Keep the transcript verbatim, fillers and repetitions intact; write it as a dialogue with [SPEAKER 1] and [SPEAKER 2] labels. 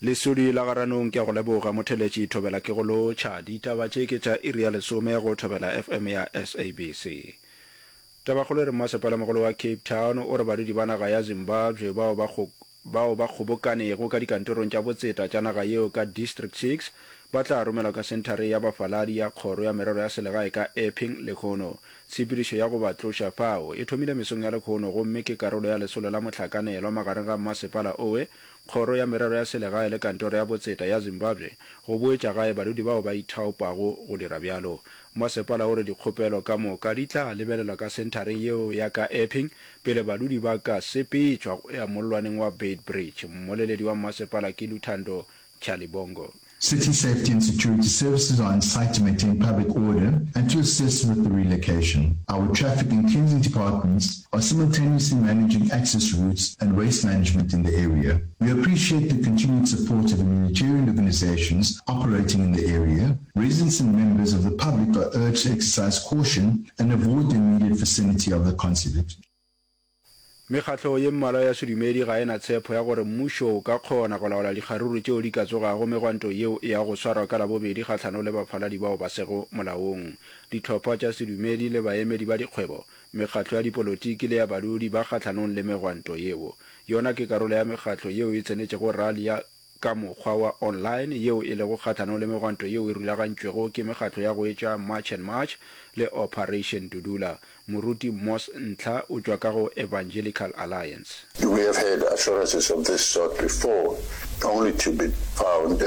[SPEAKER 1] Lesodi la Garanong ke a go leboga motheletši Thobela ke go lotšha. Ditaba tše ke tša iri ya lesome go Thobela FM ya SABC. Tabakgolo e re mmasepalamogolo wa Cape Town o re badudi ba naga ya Zimbabwe bao ba bao ba kgobokanego ka dikantorong tša botseta tša naga yeo ka District Six ba tla romelwa ka senthare ya bafaladi ya Kgoro ya Merero ya Selegae ka Epping lehono. Tshepedišo ya go ba tloša fao e thomile mesong ya lehono gomme ke karolo ya lesolo la mohlakanelwa magareng ga mmasepala owe, Kgoro ya Merero ya Selegae le Kantoro ya Botseta ya Zimbabwe go boetša gae badudi bao ba ithaopago go dira bjalo. Mmasepala o re dikgopelo ka moka di tla lebelelwa ka senthareng yeo ya ka Epping pele badudi ba ka sepetšwa go ya mollwaneng wa Beitbridge. Mmoleledi wa mmasepala ke Luthando Tyhalibongo.
[SPEAKER 2] City safety and security services are on site to maintain public order and to assist with the relocation. Our traffic and cleansing departments are simultaneously managing access routes and waste management in the area. We appreciate the continued support of humanitarian organizations operating in the area. Residents and members of the public are urged to exercise caution and avoid the immediate vicinity of the consulate.
[SPEAKER 1] Mekgatlo ye mmalwa ya sedumedi ga e na tshepo ya gore mmušo o ka kgona go laola dikgaruru tšeo di ka tsogago megwanto yeo e yago go swarwa ka Labobedi kgahlanong le bafaladi bao ba sego molaong. Dihlopha tša sedumedi le baemedi ba dikgwebo, mekgatlo ya dipolotiki le ya badudi ba kgahlanong le megwanto yeo. Yona ke karolo ya mekgatlo yeo e tsenetšego rali ya ka mokgwa wa online yeo e lego kgahlanong le megwanto yeo e rulagantšwego ke mekgatlo ya go etša March and March le Operation Dudula. Moruti Moss Ntlha o tšwa ka go Evangelical Alliance.
[SPEAKER 3] We have had assurances of this sort before, only to be found